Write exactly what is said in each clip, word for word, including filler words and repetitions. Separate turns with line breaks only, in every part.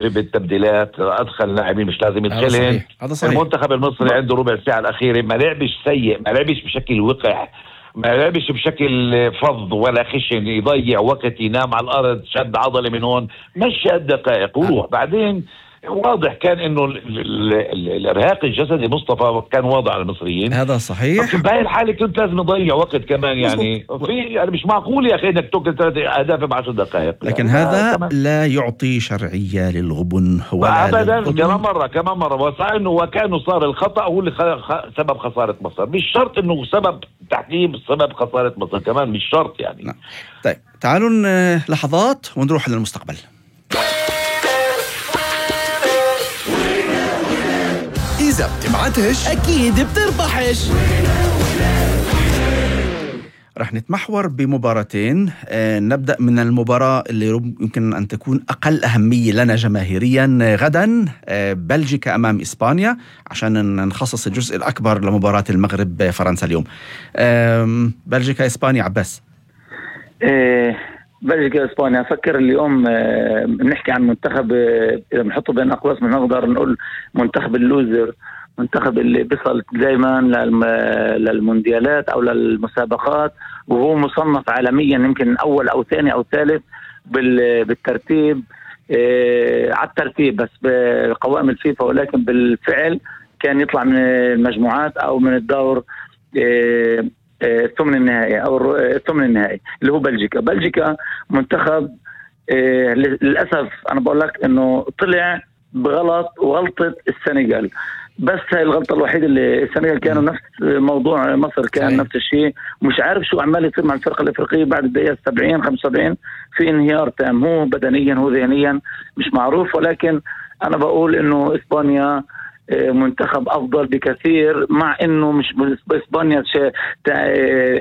بالتبديلات، ادخل لاعبين مش لازم يدخلهم. المنتخب المصري عنده ربع ساعه الاخيره ما لعبش سيء، ما لعبش بشكل وقح، ما لعبش بشكل فظ ولا خشن يضيع وقت، ينام على الارض، شد عضله من هون، مشى الدقائق وروح. بعدين واضح كان انه الارهاق الجسدي مصطفى كان واضح على المصريين.
هذا صحيح.
بهاي الحاله كنت لازم نضيع وقت كمان، يعني في يعني مش معقول يا اخي انك تاكل ثلاث اهداف بعشر دقائق.
لكن يعني هذا كمان لا يعطي شرعيه للغبن ولا
ابدا. كمان مره كمان مره وصار انه وكانه صار الخطا هو اللي سبب خساره مصر، مش شرط انه سبب تحكيم سبب خساره مصر، كمان مش شرط يعني.
نعم. طيب تعالوا لحظات ونروح للمستقبل.
إذا بتبعتش
أكيد بتربحش.
رح نتمحور بمباراتين. آه نبدأ من المباراة اللي يمكن أن تكون أقل أهمية لنا جماهيريا غدا، آه بلجيكا أمام إسبانيا، عشان نخصص الجزء الأكبر لمباراة المغرب فرنسا اليوم. آه بلجيكا إسبانيا. عباس.
إيه بلجيكا إسبانيا. أفكر اليوم بنحكي عن منتخب إذا بنحطه بين أقواس بنقدر نقول منتخب اللوزر، منتخب اللي بيصل دائما للمونديالات أو للمسابقات وهو مصنف عالميا يمكن أول أو ثاني أو ثالث بالترتيب، على الترتيب بس بقوائم الفيفا، ولكن بالفعل كان يطلع من المجموعات أو من الدور الثمن النهائي أو الثمن النهائي اللي هو بلجيكا. بلجيكا منتخب إيه للأسف أنا بقول لك إنه طلع بغلط وغلطة السنغال، بس هاي الغلطة الوحيدة اللي السنغال كانوا نفس موضوع مصر كان نفس الشيء، مش عارف شو عمال يصير مع الفرقة الأفريقية بعد الدقيقة سبعين خمسة وسبعين في انهيار تام، هو بدنيا هو ذهنيا مش معروف. ولكن أنا بقول إنه إسبانيا منتخب افضل بكثير، مع انه مش باسبانيا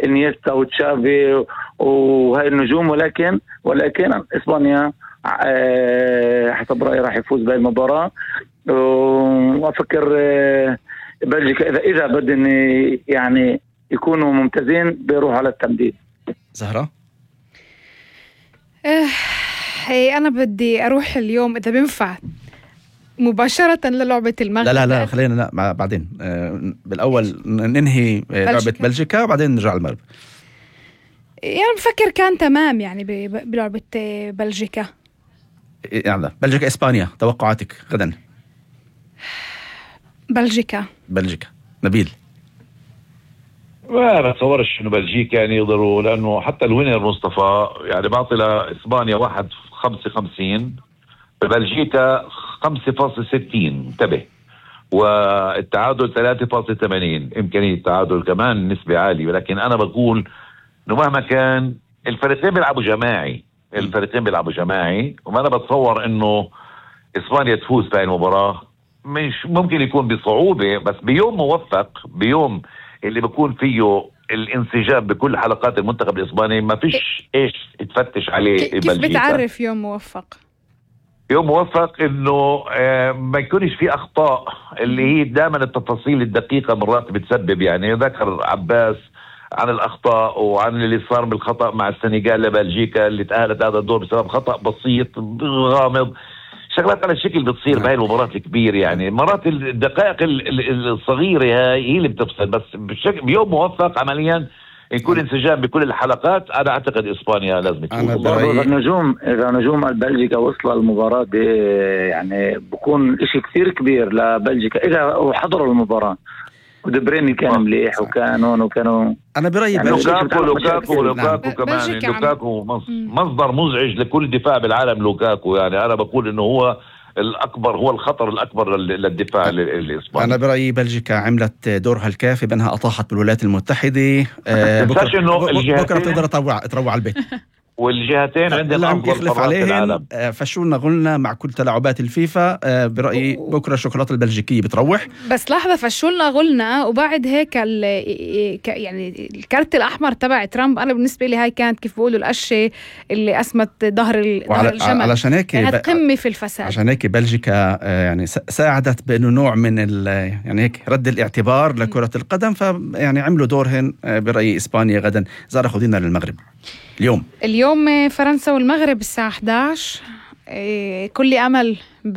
انيستا وتشافي وهاي النجوم، ولكن ولكن اسبانيا حسب رايي راح يفوز بهاي المباراه. وافكر بلجيكا اذا اذا بدهم يعني يكونوا ممتازين بيروحوا على التمديد.
زهرة.
هي انا بدي اروح اليوم اذا بينفع مباشرة للعبة المغرب.
لا لا لا خلينا لا بعدين. آه بالأول ننهي آه لعبة بلجيكا وبعدين نرجع المغرب.
يعني بفكر كان تمام يعني بلعبة بلجيكا.
يعني بلجيكا إسبانيا، توقعاتك غدا؟
بلجيكا.
بلجيكا. نبيل.
ما بتصورش إنه بلجيكا يعني يقدروا، لأنه حتى الوينر مصطفى يعني بعطي لإسبانيا واحد خمسة خمسين، ببلجيكا خمسة فاصلة ستين انتبه، والتعادل ثلاثة فاصلة ثمانين، إمكانية التعادل كمان نسبة عالية. ولكن أنا بقول إنه مهما كان الفريقين بيلعبوا جماعي، الفريقين بيلعبوا جماعي، وما أنا بتصور إنه إسبانيا تفوز في المباراة. مش ممكن يكون بصعوبة، بس بيوم موفق، بيوم اللي بيكون فيه الانسجام بكل حلقات المنتخب الإسباني ما فيش إيش تفتش عليه.
كيف بلجيكا بتعرف يوم موفق؟
يوم موفق انه آه ما يكونش في اخطاء، اللي هي دائما التفاصيل الدقيقه مرات بتسبب. يعني ذكر عباس عن الاخطاء وعن اللي صار بالخطا مع السنغال لبلجيكا اللي تاهلت هذا الدور بسبب خطا بسيط غامض، شغلات على الشكل بتصير بهاي المباراه الكبير. يعني مرات الدقائق الصغيره هاي هي اللي بتفصل، بس بشكل بيوم موفق عمليا يكون انسجام بكل الحلقات. انا اعتقد اسبانيا لازم تكون.
اذا نجوم اذا نجوم بلجيكا وصلوا المباراه دي يعني بكون اشي كثير كبير لبلجيكا اذا حضروا المباراه. ودبريني كان مليح وكان هون وكانوا
انا برايي
يعني لوكاكو لوكاكو لوكاكو كمان لوكاكو مصدر مزعج لكل دفاع بالعالم. لوكاكو يعني انا بقول انه هو الأكبر، هو الخطر الأكبر للدفاع الإسباني.
أنا برأيي بلجيكا عملت دورها الكافي بأنها أطاحت بالولايات المتحدة. آه بكرة, بكرة, بكرة تقدر تروع تروع على البيت.
والجهتين عندهم
أفضل يخلف عليهم. فشونا قلنا مع كل تلاعبات الفيفا. آه برأيي بكرة الشوكولاتة البلجيكية بتروح.
بس لحظة، فشونا قلنا وبعد هيك يعني الكارت الأحمر تبع ترامب أنا بالنسبة لي هاي كانت كيف بقولوا القشة اللي أسمت ظهر الجمل.
علشان هيك
كانت قمة في الفساد.
عشان هيك بلجيكا آه يعني ساعدت بأنه نوع من يعني هيك رد الاعتبار لكرة القدم، فيعني عملوا دورهن. آه برأيي إسبانيا غدا. زارة خدينا للمغرب اليوم.
اليوم فرنسا والمغرب الساعة إحدى عشر. كل امل